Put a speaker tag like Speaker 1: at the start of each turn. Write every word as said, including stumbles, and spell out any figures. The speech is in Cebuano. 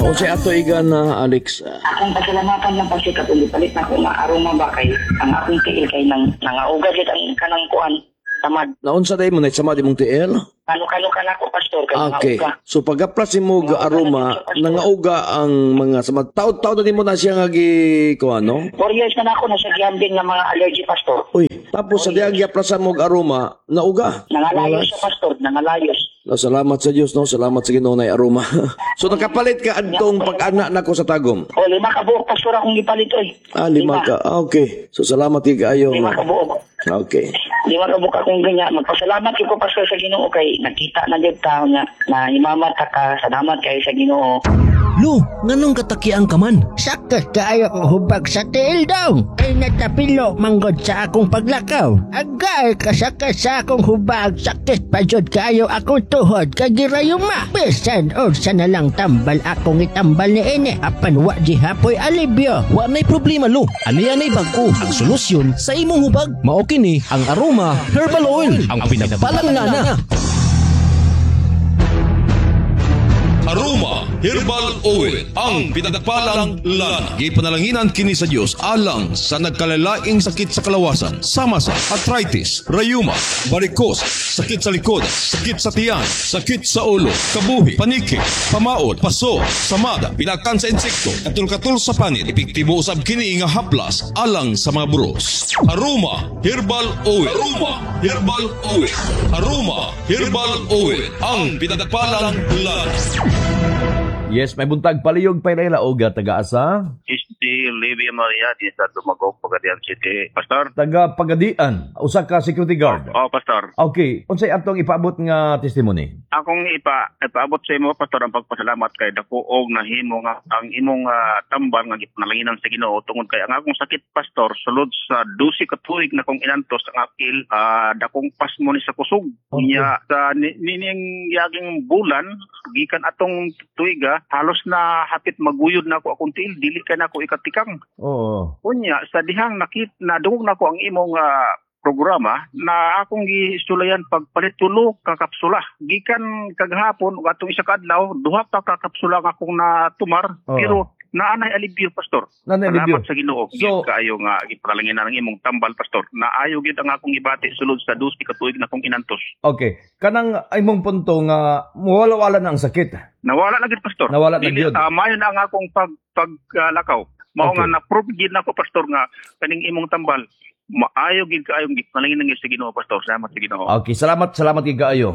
Speaker 1: O si ato igan na Alex.
Speaker 2: Akong pasalamatan lang, Pastor, katong gipalit nako nga aroma ba, kay ang akong tiil kay nang nangauga gid ang kanang kuan, samad.
Speaker 1: Naunsa day mo na samad imong tiil?
Speaker 2: Kano-kano ka nako, Pastor, kay
Speaker 1: Okay.
Speaker 2: nangauga.
Speaker 1: So pagaplas mo ga aroma, nangauga ang mga samad. Taod-taod na nimo na siya nga gi kuan, no?
Speaker 2: Four years na nako na sa gihambing nga mga allergy, Pastor.
Speaker 1: Uy, tapos sa dihang giaplasan mo og aroma, nauga.
Speaker 2: Nangalayos siya, Pastor, nangalayos.
Speaker 1: No, salamat sa Dios, no? Salamat sa Ginoo na aroma. So nakapalit ka adtong pag-ana nako sa Tagum.
Speaker 2: O, lima ka buok, Pastor, akong gipalit oy.
Speaker 1: Ah, lima ka. Ah, okay. So salamat kay kaayo.
Speaker 2: Lima ka buok.
Speaker 1: Okay.
Speaker 2: Lima ka buok akong ganyan. Magpasalamat ko, Pastor, sa Ginoo kay nakita na gyud ta nga na imamat ka. Salamat kay sa Ginoo.
Speaker 3: Lo, nganong katakiang ka man?
Speaker 4: Sakit kaayo ko hubag sa tiil daw. Kay natapilo manggod sa akong paglakaw. Agay kasakit sa akong hubag. Sakit pa jud kaayo akong tuhod kay girayuma. Bisan unsa na lang tambal akong itambal ni ini. Apan wa gihapoy alibyo.
Speaker 3: Wa na'y problema, Lo. Ani-anay bag-o ang solusyon sa imong hubag. Mao kini ang Aroma Herbal Oil, ang pinagpalang lana.
Speaker 5: Aroma Herbal Oil, ang pinagpalang lana. Gipanalanginan kini sa Dios alang sa nagkalalaing sakit sa kalawasan, sama sa arthritis, rayuma, varicose, sakit sa likod, sakit sa tiyan, sakit sa ulo, kabuhi, paniki, pamaod, paso, samada, pinakan sa insekto, katul-katul sa panit. Epektibo usab kini nga haplas alang sa mga buros. Aroma Herbal Oil. Aroma Herbal Oil. Aroma Herbal Oil, ang pinagpalang lana.
Speaker 1: Yes, may buntag paliyog pairela og taga-asa.
Speaker 6: Si Livia Maria di sa Dumagok, Pagadian City. Pastor?
Speaker 1: Taga Pagadian, usa ka security guard.
Speaker 6: Oh, Pastor.
Speaker 1: Okay, unsay atong ipaabot nga testimony?
Speaker 6: Akong ipa ipaabot sa imo, Pastor, ang pagpasalamat kay dako og nahimo nga ang imong ah, tambal nga gipanalanginan sa Ginoo tungod kay ang akong sakit, Pastor, sulod sa dose ka tuig na kong inantos ang akil ah, dakong pasmo ni sa kusog.
Speaker 1: Okay.
Speaker 6: Nya sa ni, nining yaging bulan gikan atong tuiga halos na hapit maguyod na ako akong tiil, dili kay nako ikatikang.
Speaker 1: Oo.
Speaker 6: Unya sa dihang nakit nadungog nako ang imong ah, programa na akong gisulayan pagpalit tulo ka kapsula gikan kagahapon ug atong isa ka adlaw, duha pa ka kapsula nga akong natumar.
Speaker 1: Oo.
Speaker 6: Pero naanay alibyo, Pastor.
Speaker 1: Nanay
Speaker 6: Salamat
Speaker 1: alibyo.
Speaker 6: sa Ginoo.
Speaker 1: So-
Speaker 6: So, kaayo nga gipalanginan ang imong tambal, Pastor. Naayo gyud ang akong gibati sulod sa dose ka tuig na akong inantos.
Speaker 1: Okay. Kanang imong punto nga muwala-wala na ang sakit.
Speaker 6: Nawala na gyud, Pastor.
Speaker 1: Nawala na
Speaker 6: Dili-
Speaker 1: gyud.
Speaker 6: ah, maayo na ang akong pag paglakaw. Mao
Speaker 1: Okay.
Speaker 6: nga na-prove gyud nako, Pastor, nga kaning imong tambal maayo gyud kaayong gipalanginan sa Ginoo, Pastor. Salamat sa Ginoo.
Speaker 1: Okay, salamat, salamat kay kaayo.